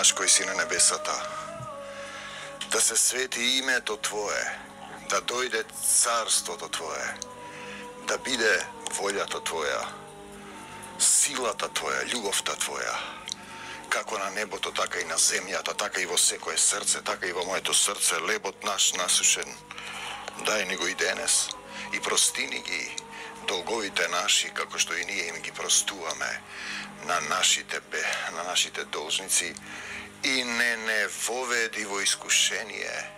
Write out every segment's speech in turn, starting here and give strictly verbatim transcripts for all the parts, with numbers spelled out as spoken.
наш кој си на небесата, да се свети името Твое, да дојде царството Твое, да биде волјата Твоја, силата Твоја, љубовта Твоја, како на небото, така и на земјата, така и во секое срце, така и во моето срце, лебот наш насушен, дај ни го и денес, и простини ги долговите наши, како што и ние им ги простуваме на нашите бе, на нашите должници, и не не воведи во искушение,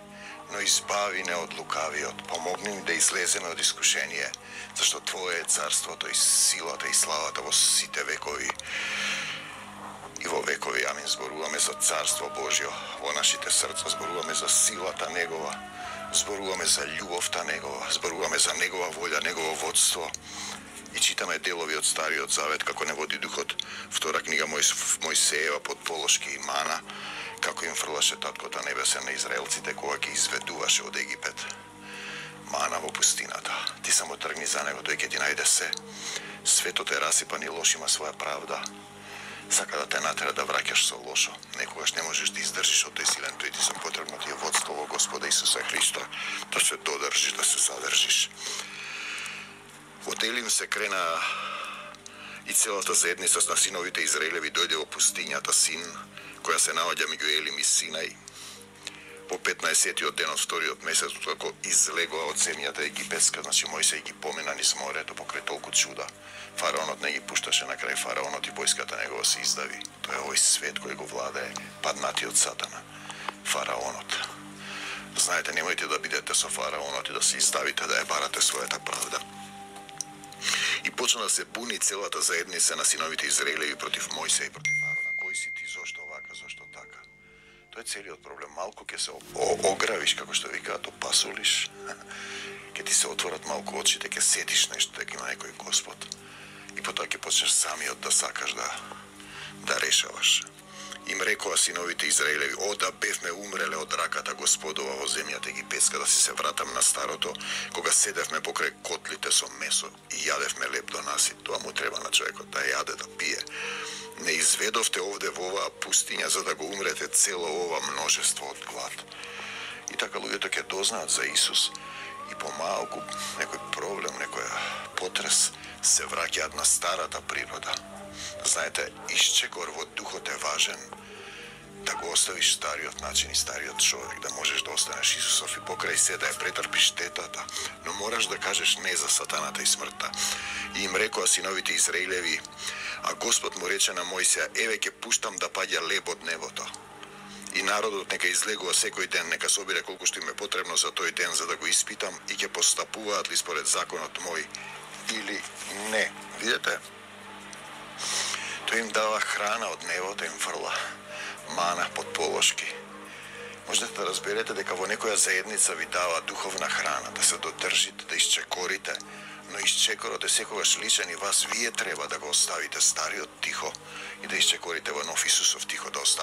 но избави не од лукавиот. Помогни ни да излеземе од искушение, зашто Твое е царството и силата и славата во сите векови. И во векови, амин, зборуваме за Царство Божјо во нашите срца, зборуваме за силата Негова, зборуваме за љубовта Негова, зборуваме за Негова волја, Негово водство. И читаме делови од Стариот Завет, како не води Духот, втора книга Мојсеева под полошки и мана, како им фрлаше Таткото Небесен на израелците кога ги изведуваше од Египет. Мана во пустината. Ти само тргни за него, тој ќе ти најде се. Светот е расипан и лош има своја правда. Сака да те натера да враќаш со лошо. Некогаш не можеш да издржиш од тој силен, тој ти се потребно ти е водство во Господа Исуса Христа, да се додржиш, да се задржиш. Во Елим се крена и целата заедница на синовите Израелеви дојде во пустињата Син, која се наоѓа меѓу Елим и Синај. Во петнаесеттиот ден од вториот месец, како излегоа од земјата египетска, значи Мојсей ги помина низ морето покрај толку чуда. Фараонот не ги пушташе, на крај фараонот и војската негова се издави. Тоа е овој свет кој го владее, паднатиот сатана. Фараонот. Знаете, немојте да бидете со фараонот и да се издавите да ја барате својата правда. И почна да се буни целата заедница на синовите Израелеви против Мојсей, против Арона. Кој си ти, зошто вака, зошто така? Тоа е целиот проблем. Малку ќе се огравиш, како што викаат, опасулиш, ќе ти се отворат малку очите, ќе сетиш нешто, дека има некој Господ. И потоа ќе почнеш самиот да сакаш да, да решаваш. Им рекоа синовите Израелеви: о, да бевме умреле од раката Господова во земјата египетска, да си се вратам на старото, кога седевме покрај котлите со месо и јадевме леп до нас, и тоа му треба на човекот, да јаде, да пие. Не изведовте овде во оваа пустиња за да го умрете цело ова множество од глад. И така луѓето ќе дознаат за Исус и помалку некој проблем, некој потрес се враќаат на старата природа. Знаете, исчекор во духот е важен, да го оставиш стариот начин и стариот човек, да можеш да останеш Исусов и покрај се да ја претрпиш штетата, но мораш да кажеш не за сатаната и смртта. И им рекоа синовите Израилеви, а Господ му рече на Мојсија: еве ќе пуштам да паѓа леб од небото. И народот нека излегува секој ден, нека собере колку што им е потребно за тој ден, за да го испитам и ќе постапуваат ли според законот мој или не. Видете? Тој им дава храна од небото, им фрла мана под полошки. Можете да разберете дека во некоја заедница ви дава духовна храна, да се додржите, да исчекорите, но исчекорот е секогаш личен и вас вие треба да го оставите стариот тихо и да исчекорите во нов Исусов тихо да оставите.